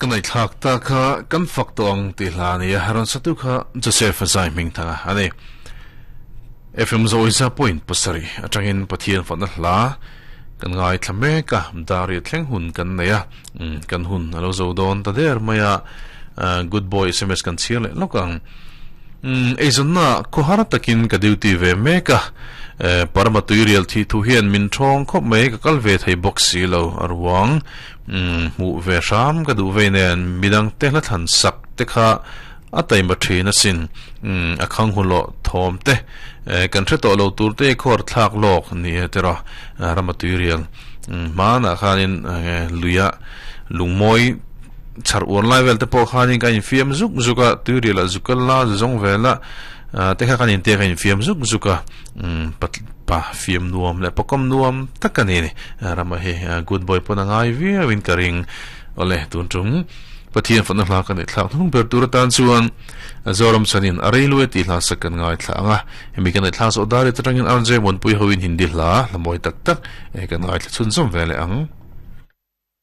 Ka ngaihthlak ta kha kan fak tawh ang tih hla a ni a, rawn satu kha Joseph a zai hming thang a a ni. FM Zawiza point pasarih atangin Pathian fatna hla kan ngaithla mek a, Daria thleng hun kan nei a, kan hun a lo zo dawn ta der mai a, Good boy sms kan chhiar leh lawk ang. Eizawnna khawhar takin ka duty ve mek a, Parma tuirial thih thu hian min thawng khawp mai, ka kal ve thei bawk si lo a ruang. Hmuh ve hram ka duh vei nen midang te hla thlan sak te kha a taima thin asin. A khang hulawh thawm te kan hre tawh lo tur te khawr thlak lawk ni e tiraw Rama tuirial hmanah khanin luia lungmawi chhar uar lai vel te pawh khanin ka infiam zuk zuk a, tuirial ah zuk kal la zawng vel a te kha kan intia ka infiam zuk zuk a. Pa fiam nuam leh pakawm nuam tak a ni ni. Rama hi good boy pawn a ngai viau in ka ring. Awle tun tum Pathian fatna hla ka neih thlak hnung ber tur atan chuan Zoram chanin a rei luai tih hla sak kan ngaithla ang a. Hemi ka neih thlak zawh dar atangin RJ Muanpui ho in Hindi hla hla mawi tak tak kan ngaithla chhunzawm ve leh ang.